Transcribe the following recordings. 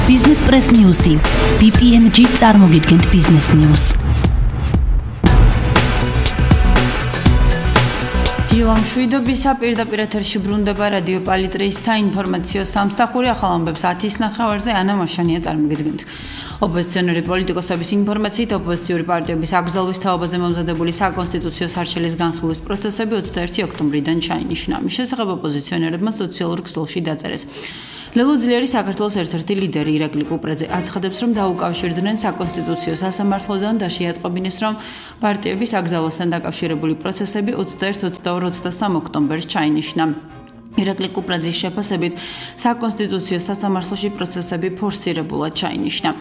Business Press News-ი. BPNG წარმოგიდგენთ Business News. დილამშვიდობისა პირდაპირ ეთერში ბრუნდება რადიო პალიტრის საინფორმაციო სამსახური ახალ ამბებს 10:09-ზე ანა მაშანია წარმოგიდგენთ. ოპოზიციონერი პოლიტიკოსების ინფორმაციით ოპოზიციური პარტიების აკრძალვის თაობაზე მომზადებული საკონსტიტუციო სარჩელის განხილვის პროცესები 21 ოქტომბრიდან ჩაინიშნა. მის შესახებ ოპოზიციონერებმა სოციალურ ქსელში დაწერეს. ლელო ძლიერი საქართველოს ერთ-ერთი ლიდერი ირაკლი კუპრაძე აცხადებს, რომ დაუკავშირდნენ საკონსტიტუციო სასამართლოდან და შეატყობინეს, რომ პარტიების აკრძალვასთან დაკავშირებული პროცესები 21, 22, 23 ოქტომბერს ჩაინიშნა. ირაკლი კუპრაძის შეფასებით, საკონსტიტუციო სასამართლოში პროცესები ფორსირებულად ჩაინიშნა.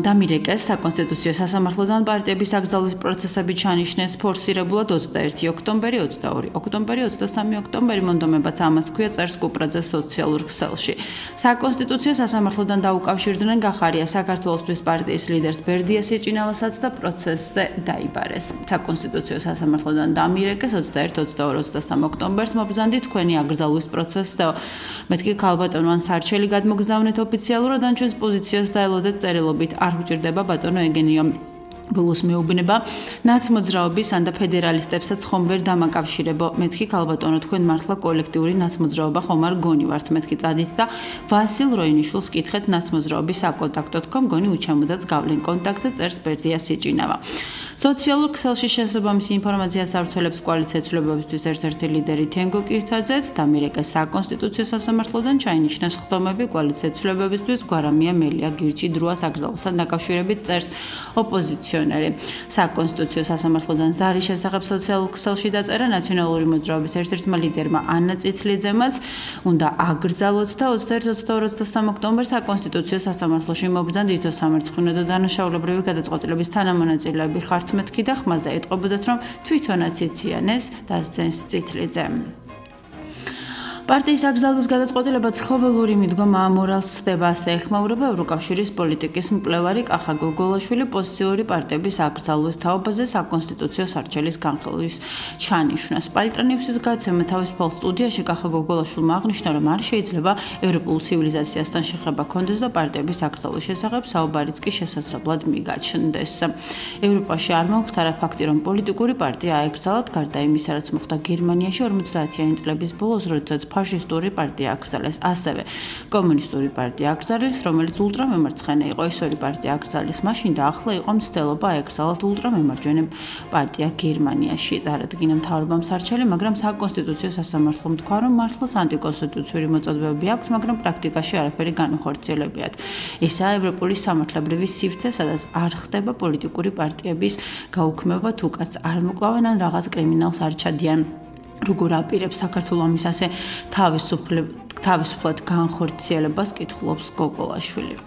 დამირეკეს საკონსტიტუციო სასამართლოდან პარტიების აკრძალვის პროცესები ჩანიშნეს ფორსირებულად 21 ოქტომბერი, 22 ოქტომბერი, 23 ოქტომბერი მონდომებაც ამას ქვია წერს კუპრაძეს სოციალურ ქსელში. საკონსტიტუციო სასამართლოდან დაუკავშირდნენ გახარია საქართველოსთვის პარტიის ლიდერს ბერდიას ეჭინავასაც და პროცესზე დაიბარეს. საკონსტიტუციო სასამართლოდან დამირეკეს 21, 22, 23 ოქტომბერს მობრძანდი თქვენი აკრძალვის პროცესზე. მეთქი ქალბატონო ან სარჩელი გადმოგზავნეთ ოფიციალურად ან ჩვენს პოზიციას დაელოდეთ წერილობით არ უჭირდება ბატონო ეგენიო ბოლოს მეუბნება ნაცმოძრაობის ან და ფედერალისტებსაც ხომ ვერ დამაკავშირებო მეთქი ქალბატონო თქვენ მართლა კოლექტიური ნაცმოძრაობა ხომ არ გონივართ მეთქი წადით და ვასილ როინიშვილს კითხეთ ნაცმოძრაობის საკონტაქტო.com გონი უჩემოდაც გავლენ კონტაქტზე წერს ბერდია სიჭინავა. სოციალურ ქსელში შესაბამისი ინფორმაციას ავრცელებს კოალიცია ცვლილებებისთვის ერთ-ერთი ლიდერი თენგო კირთაძეც დამირეკეს საკონსტიტუციო სასამართლოდან ჩაინიშნეს ხდომები კოალიცია ცვლილებებისთვის გვარამია მელია გირჩი დროას აკრძალვასთან დაკავშირებით წერს ოპოზიციონერი. საკონსტიტუციო სასამართლოდან ზარის შესახებ სოციალურ ქსელში დაწერა ნაციონალური მოძრაობის ერთ-ერთმა ლიდერმა ანა წითლიძემაც უნდა აკრძალოთ და 21, 22, 23 ოქტომბერს საკონსტიტუციო სასამართლოში მობრძანდი თითო სამარცხინო და დანაშაულებრივი გადაწყვეტილების თანამონაწილეები ხართ მეთქი და ხმაზე ეტყობოდათ, რომ თვითონაც იციანეს დასძენს წითლიძემ. პარტიის აკრძალვის გადაწყვეტილება ცხოველური მიდგომა ამორალს ხდება, ასე ეხმაურება ევროკავშირის პოლიტიკის მკვლევარი კახა გოგოლაშვილი პოზიციური პარტიების აკრძალვის თაობაზე საკონსტიტუციო სარჩელის განხილვის ჩანიშვნას. პალიტრანიუსის გადაცემა თავისუფალ სტუდიაში კახა გოგოლაშვილმა აღნიშნა, რომ არ შეიძლება ევროპულ ცივილიზაციასთან შეხება ჰქონდეს და პარტიების აკრძალვის შესახებ საუბარიც კი შესაძლებლად მიგაჩნდეს. ევროპაში არ მომხდარა ფაქტი, რომ პოლიტიკური პარტია აეკრძალათ, გარდა იმისა, რაც მოხდა გერმანიაში 50-იანი წლების ბოლოს, როდესაც ფაშისტური პარტია აკრძალეს, ასევე კომუნისტური პარტია აკრძალეს, რომელიც ულტრამემარცხენე იყო, ის ორი პარტია აკრძალეს მაშინ და ახლა იყო მცდელობა აეკრძალათ ულტრამემარჯვენე პარტია გერმანიაში. წარადგინა მთავრობამ სარჩელი, მაგრამ საკონსტიტუციო სასამართლომ თქვა, რომ მართლაც ანტიკონსტიტუციური მოწოდებები აქვს, მაგრამ პრაქტიკაში არაფერი განუხორციელებიათ. ესაა ევროპული სამართლებრივი სივრცე, სადაც არ ხდება პოლიტიკური პარტიების გაუქმება, თუ კაც არ მოკლავენ ან რაღაც კრიმინალს არ ჩადიან. როგორ აპირებს საქართველოს ამის ასე თავისუფლად განხორციელებას კითხულობს გოგოლაშვილი.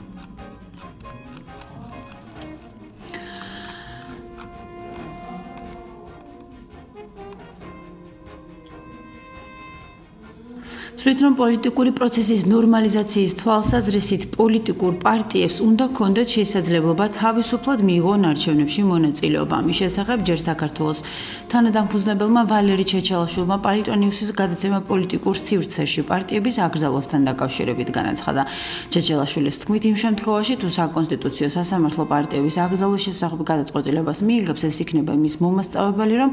თვითონ პოლიტიკური პროცესის ნორმალიზაციის თვალსაზრისით პოლიტიკურ პარტიებს უნდა ჰქონდეთ შესაძლებლობა თავისუფლად მიიღონ არჩევნებში მონაწილეობა. მის შესახებ ჯერ საქართველოს თანადამფუძნებელმა ვალერი ჩეჩელაშვილმა პალიტრანიუსის გადაცემა პოლიტიკურ სივრცეში პარტიების აკრძალვასთან დაკავშირებით განაცხადა. ჩეჩელაშვილის თქმით, იმ შემთხვევაში თუ საკონსტიტუციო სასამართლო პარტიების აკრძალვის შესახებ გადაწყვეტილებას მიიღებს, ეს იქნება იმის მომასწავებელი, რომ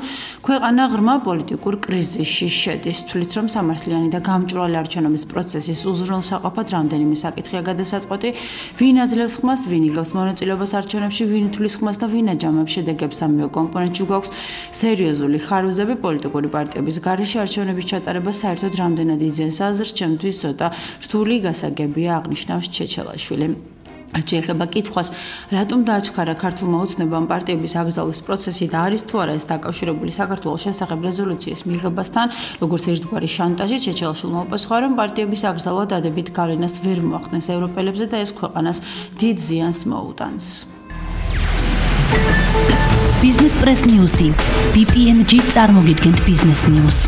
ქვეყანა ღრმა პოლიტიკურ კრიზისში შედის. თვლით, რომ სამართლიანი და გამჭვირვალე არჩევნების პროცესის უზრუნველსაყოფად რამდენიმე საკითხია გადასაწყვეტი, ვინ აძლევს ხმას, ვინ იღებს მონაწილეობას არჩევნებში, ვინ თulis ხმას და ვინ აჯამებს შედეგებს. ამავე კომპონენტში გვაქვს სერიოზული ხარვეზები პოლიტიკური პარტიების გარეშე არჩევნების ჩატარება საერთოდ რამდენად იძენს აზრს, ჩემთვის ცოტა რთული გასაგებია, აღნიშნავს ჩეჩელაშვილი. შეეხება კითხვას, რატომ დააჩქარა ქართულმა ოცნებამ პარტიების აკრძალვის პროცესი და არის თუ არა ეს დაკავშირებული საქართველოს შესახებ რეზოლუციის მიღებასთან, როგორც ერთგვარი შანტაჟი, ჩეჩელაშვილმა უპასუხა, რომ პარტიების აკრძალვა დადებით გავლენას ვერ მოახდენს ევროპელებზე და ეს ქვეყანას დიდ ზიანს მოუტანს. Business Press News-ი. BPNG წარმოგიდგენთ Business News.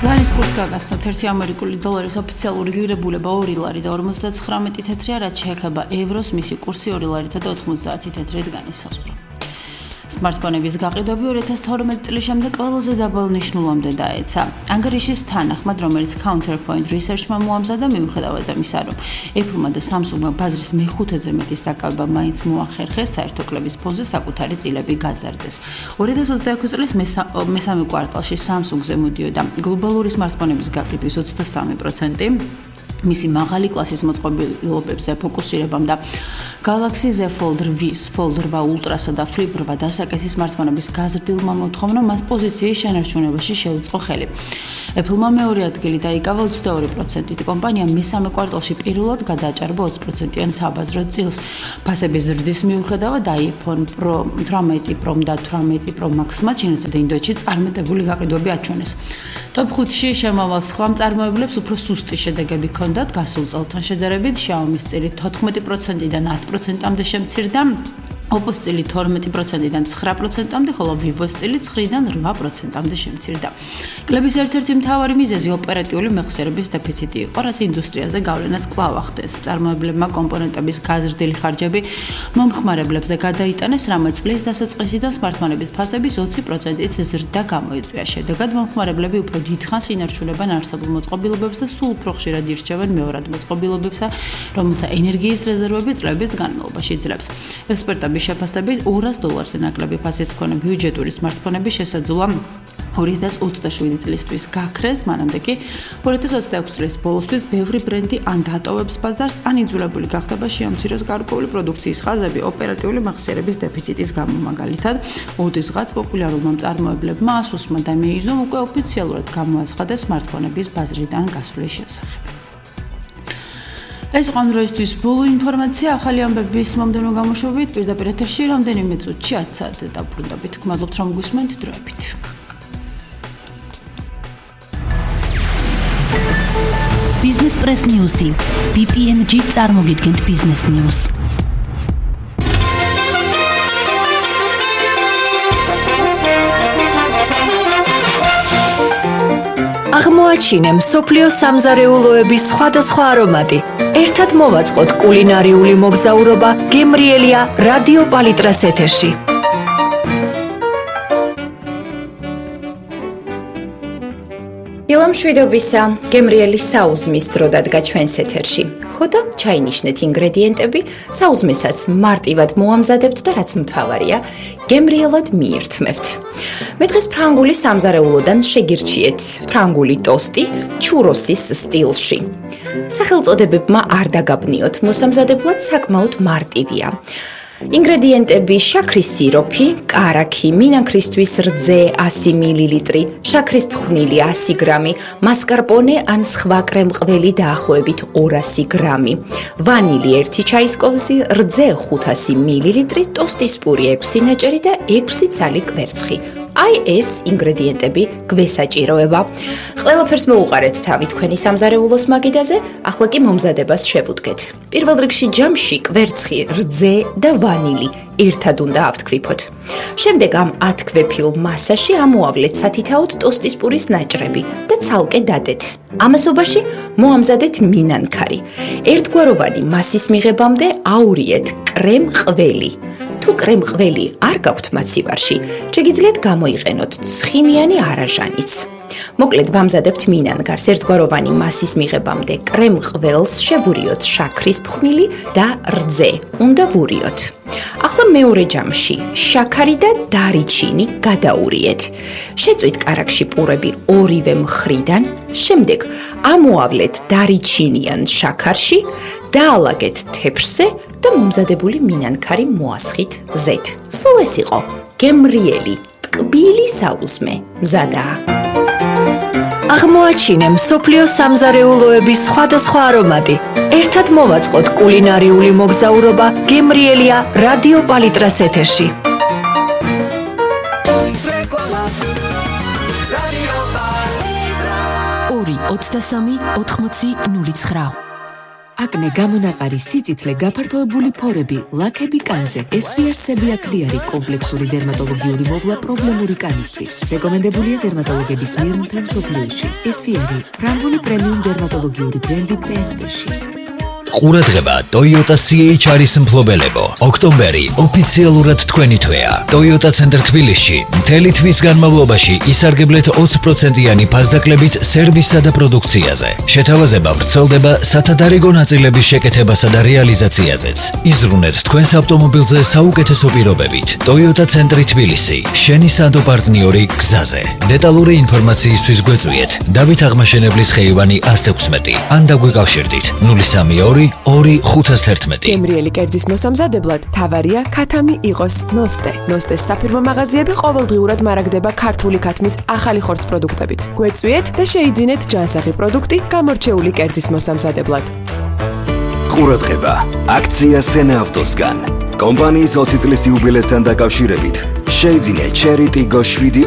ლარის კურსს გაგაცნობთ 1 ამერიკული დოლარის ოფიციალური ღირებულება 2 ლარი და 59 თეთრია, რაც შეეხება ევროს, მისი კურსი 2 ლარითა და 90 თეთრით განისაზღვრა. Smartphone-ების გაყიდვები 2012 წლის შემდეგ ყველაზე დაბალ ნიშნულამდე დაეცა. ანგარიშის თანახმად, რომელიც Counterpoint Research-მა მოამზადა, მიუხედავად ამისა, რომ Apple-მა და Samsung-მა ბაზრის მე-5-ზე მეტის დაკავება მაინც მოახერხეს, საერთო კლების ფონზე საკუთარი წილები გაზარდეს. 2026 წლის მესამე კვარტალში Samsung-ზე მოდიოდა გლობალური smartphone-ების გაყიდვის 23%. მისი მაღალი კლასის მოწყობილობებზე ფოკუსირებამ და Galaxy Z Fold 8, Fold 8 Ultra-სა და Flip 8 დასაკისი smartphone-ების გაზრდილმა მოთხოვნამ მას პოზიციის შენარჩუნებაში შეუწყო ხელი. Apple-მა მეორე ადგილი დაიკავა 22%-ით. კომპანიამ მესამე კვარტალში პირველად გადააჭარბა 20%-იან საბაზრო წილს. ფასების ზრდის მიუხედავად iPhone Pro 18 Pro და 18 Pro Max-მა ჩინეთსა და ინდოეთში წარმატებული გაყიდვები აჩვენეს. Top 5-ში შემავალ სხვა მწარმოებლებს უფრო სუსტი შედეგები ჰქონდათ გასულ წელთან შედარებით. Xiaomi-ის წილი 14%-დან 10%-მდე შემცირდა. Oppo-ის წილი 12%-დან 9%-მდე, ხოლო Vivo-ის წილი 9-დან 8%-მდე შემცირდა. კლების ერთ-ერთი მთავარი მიზეზი ოპერატიული მეხსიერების დეფიციტი იყო, რაც ინდუსტრიაზე გავლენას კვლავ ახდენს. მწარმოებლებმა კომპონენტების გაზრდილი ხარჯები მომხმარებლებზე გადაიტანეს, რამაც წლის დასაწყისიდან smartphone-ების ფასების 20%-ით ზრდა გამოიწვია. შედეგად მომხმარებლები უფრო დიდხანს ინარჩუნებენ არსებულ მოწყობილობებს და სულ უფრო ხშირად ირჩევენ მეორად მოწყობილობებსა, რომელთა ენერგიის რეზერვები წლების განმავლობაში იძლებს. ექსპერტების შეფასებით $200-ზე ნაკლები ფასის მქონე ბიუჯეტური smartphone-ების შესაძლოა 2027 წლისთვის გაქრეს, მანამდე კი 2026 წლის ბოლოსთვის ბევრი ბრენდი ან დატოვებს ბაზარს, ან იძულებული გახდება შეამციროს გარკვეული პროდუქციის ხაზები ოპერატიული მეხსიერების დეფიციტის გამო. მაგალითად, ოდესღაც პოპულარულმა მწარმოებლებმა Asus-მა და Meizu-მ უკვე ოფიციალურად გამოაცხადეს smartphone-ების ბაზრიდან გასვლის შესახებ. ეს იყო დღეისთვის ბოლო ინფორმაცია. ახალი ამბების მომდევნო გამოშვებით პირდაპირ ეთერში რამდენიმე წუთში 10 საათზე დაბრუნდებით. გმადლობთ რომ გусმენთ დროებით. Business Press News-ი. PPNG წარმოგიდგენთ Business News. აღმოაჩინე მსოფლიო სამზარეულოების სხვადასხვა არომატი. ერთად მოვაწყოთ კულინარიული მოგზაურობა გემრიელია რადიო პალიტრას ეთერში. ილამშვიდობისა, გემრიელი საუზმის დრო დადგა ჩვენს ეთერში. ხო და ჩაინიშნეთ ინგრედიენტები, საუზმესაც მარტივად მოამზადებთ და რაც მთავარია, გემრიელად მიირთმევთ. მე დღეს ფრანგული სამზარეულოდან შეგირჩიეთ ფრანგული ტოსტი ჩუროსის სტილში. სახელწოდებებმა არ დაგაბნიოთ, მოსამზადებლად საკმაოდ მარტივია. ინგრედიენტები: შაქრის სიროფი, კარაქი, მინანქრისთვის რძე 100 მლ, შაქრის ფხვნილი 100 გრამი, მასკარპონე ან სხვა კრემყველი დაახლოებით 200 გრამი, ვანილი 1 ჩაის კოვზი, რძე 500 მლ, ტოსტის პური 6 ნაჭერი და 6 ცალი კვერცხი. აი ეს ინგრედიენტები გვესაჭიროება. ყველაფერს მოუყარეთ თავი თქვენი სამზარეულოს მაგიდაზე, ახლა კი მომზადებას შევუდგეთ. პირველ რიგში ჯამში კვერცხი, რძე და ვანილი ერთად უნდა ავთქვიფოთ. შემდეგ ამ ათქვეფილ მასაში ამოავლეთ სათითაოდ ტოსტის პურის ნაჭრები და ცალკე დადეთ. ამასობაში მოამზადეთ მინანქარი. ერთგვაროვანი მასის მიღებამდე აურიეთ კრემ-ყველი. თუ კრემ-ყველი არ გაქვთ მაცივარში, შეგიძლიათ გამოიყენოთ ცხიმიანი არაჟანიც. მოკლედ ვამზადებთ მინანგარს ერთგვაროვანი მასის მიღებამდე კრემ-ყველს შევურიოთ შაქრის ფხვნილი და რძე. უნდა ვურიოთ. ახლა მეორე ჯამში შაქარი და დარიჩინი გადაურიეთ. შეწვით კარაქში პურები ორივე მხრიდან, შემდეგ ამოავლეთ დარიჩინიან შაქარში, დაალაგეთ თეფშზე და მომზადებული მინანქარი მოასხით ზედ. სულ ეს იყო გემრიელი ტკბილი საუზმე. მზადაა. აღმოაჩინე მსოფლიო სამზარეულოების სხვადასხვა არომატი. ერთად მოვაწყოთ კულინარიული მოგზაურობა გემრიელია რადიო პალიტრას ეთერში. 2-23-80-09. აკნე გამონაყარი სიწითლე გაფართოებული ფორები ლაქები კანზე SVR-სები აკლიარი კომპლექსური დერმატოლოგიური მოვლა პრობლემური კანისთვის რეკომენდებულია დერმატოლოგების მიერ მთელ მსოფლიოში SVR-ი ფრანგული პრემიუმ დერმატოლოგიური ბრენდი PSP-ში ყურადღება Toyota CHR-ის მფლობელებო. ოქტომბერი ოფიციალურად თქვენი თვეა. Toyota Center თბილისში მთელი თვის განმავლობაში ისარგებლეთ 20%-იანი ფასდაკლებით სერვისსა და პროდუქციაზე. შეთავაზება ვრცელდება სათადარიგო ნაწილების შეკეთებასა და რეალიზაციაზეც. იზრუნეთ თქვენს ავტომობილზე საუკეთესო პირობებით. Toyota Center თბილისი, შენი სანდო პარტნიორი გზაზე. დეტალური ინფორმაციისთვის გვეწვიეთ დავით აღმაშენებლის ხეივანი 116 ან დაგვიკავშირდით 032 2511. გემრიელი კერძის მოსამზადებლად თავარია ქათამი იყოს ნოსტე. ნოსტეს საფირმო მაღაზიები ყოველდღიურად მარაგდება ქართული ქათმის ახალი ხორცს პროდუქტებით. გვეწვიეთ და შეიძინეთ ჯანსაღი პროდუქტი გამორჩეული კერძის მოსამზადებლად. ყურადღება, აქცია სენა ავტოსგან. კომპანიის 20 წლის იუბილესთან დაკავშირებით შეიძინე Cherry Tiggo 7